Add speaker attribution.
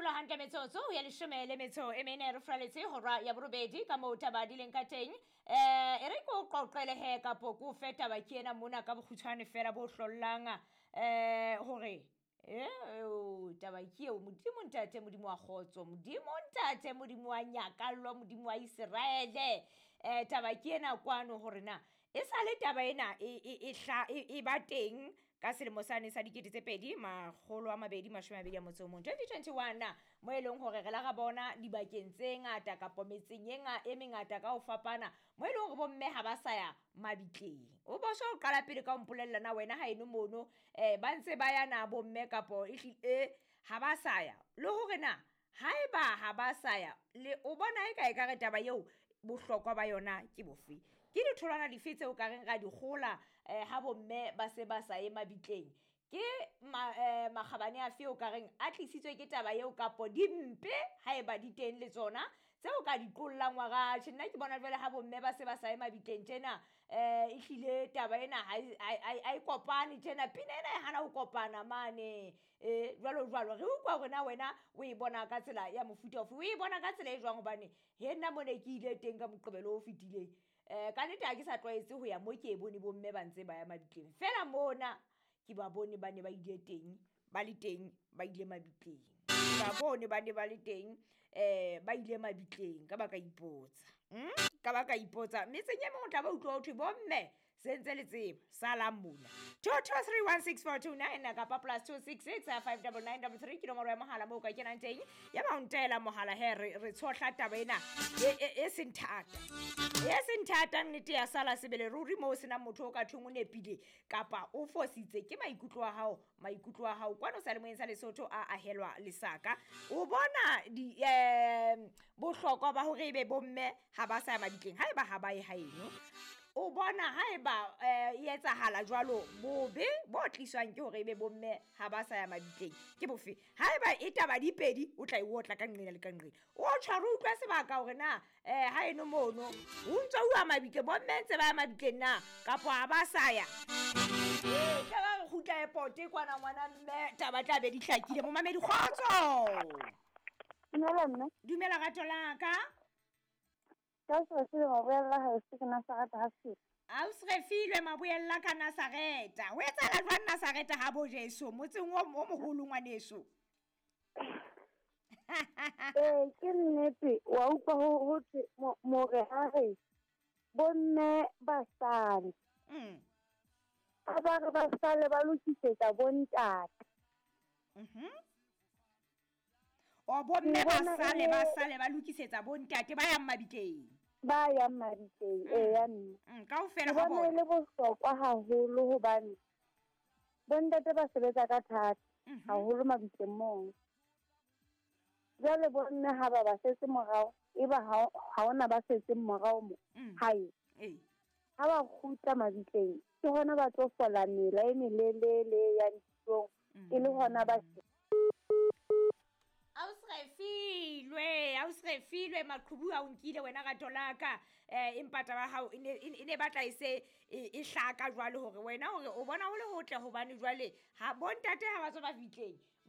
Speaker 1: Dula hantle metsotso ya 14 re furaletse hora ya 8 ka moo taba di leng ka teng. E re ke o qoqele he kapo ke o fe taba ke ena mona ka bokgutshwane fela bo hlollang hore taba ke eo. Modimo ntate, Modimo wa kgotso, Modimo ntate, Modimo wa nyakallo, Modimo wa Iseraele. Taba ke ena kwano hore na e sale taba ena e ba teng ka selemo sane sa 2021, 2021, mo e leng hore re la ra bona dibakeng tse ngata kapo metseng e mengata ka ho fapana, mo e leng hore bomme ha ba sa ya mabitleng. O bo so qala pele ka ho mpolella na wena ha eno mono ba ntse ba ya na bomme kapo ehlile ha ba sa ya, le hore na haeba ha ba sa ya le o bona e ka ekare taba eo bohlokwa ba yona ke bofe, ke ditholwana dife tseo ka reng ra di kgola ha bomme ba se ba sa ye mabitleng, ke makgabane afe o ka reng a tlisitswe ke taba eo kapo dimpe haeba di teng le tsona tseo ka di qollang wa ra tjhe. Nna ke bona jwale ha bomme ba se ba sa ye mabitleng tjena, ehlile taba ena ha e kopane tjena, pina ena e hana ho kopana mane jwalo jwalo. Re utlwa hore na wena o e bona ka tsela ya mofuta ofe, o e bona ka tsela e jwang, hobane he nna mo ne ke ile teng ka Moqebelo o fetileng, ka nnete ha ke sa tlwaetse ho ya mo ke e bone bomme ba ntse ba ya mabitleng, fela mona ke ba bone ba ne ba ile teng, ba le teng, ba ile mabitleng, ba bone ba ne ba le teng, ba ile mabitleng. Ka ba ka ipotsa, ka ba ka ipotsa metseng e meng o tla ba utlwa ho thwe bomme se ntse le tseba salang mona. 22316429 kapa +266 59933 ke nomoro ya mohala moo o ka kenang teng ya ba o ntaela mohala he re tshohla taba ena e seng thata, e seng thata, nnete ya sala sebele ruri moo o senang motho o ka thweng o nepile kapa o fositse. Ke maikutlo a hao, maikutlo a hao kwano seyalemoyeng sa Lesotho a ahelwa lesaka. O bona di bohlokwa ba hore ebe bomme ha ba sa ya mabitleng haeba ha ba ye haeno, o bona haeba e etsahala jwalo, bobe bo tliswang ke hore ebe bomme ha ba sa ya mabitleng ke bofe? Haeba e taba di pedi, o tla e otla ka nqena le ka nqena, o tshware utlwa sebaka hore na haeno mono o ntso uwa mabitleng, bomme ntse ba ya mabitleng na kapo ha ba sa ya. Tla re kgutla airport kwana ngwana mme taba tla be di hlakile. Momamedi kgotso.
Speaker 2: Dumela mme.
Speaker 1: Dumela rato la ka.
Speaker 2: Ka se se maboella ha se ke Nazareta ha se.
Speaker 1: Ausrefilwe maboella ka Nazareta. Ho etsahala jwang Nazareta ha bo Jesu motseng o moholo ngwaneso?
Speaker 2: Ke nnete wa utlwa ho thwe more ha re bomme ba sale. A ba re ba sale ba lokisetsa bontate.
Speaker 1: O bomme ba sale ba sale ba lokisetsa bontate ba yang mabitleng.
Speaker 2: Ba yang mabitleng, eya mme.
Speaker 1: Kaofela ha
Speaker 2: bona. Le bohlokwa haholo hobane bontate ba sebetsa ka thata haholo mabitleng moo. Jwale bomme ha ba ba setse morao, eba ha hona ba setseng morao mo hae. Ha ba kgutla mabitleng, ke hona ba tlo fola mela e melelele ya ditlong, e le hona ba
Speaker 1: Ausrefilwe maqhubu a o nkile wena rato la ka. Empa taba hao e ne batla e se e hlaka jwale hore wena hore o bona ho le hotle hobane jwale ha bontate ha ba tswa mabitleng.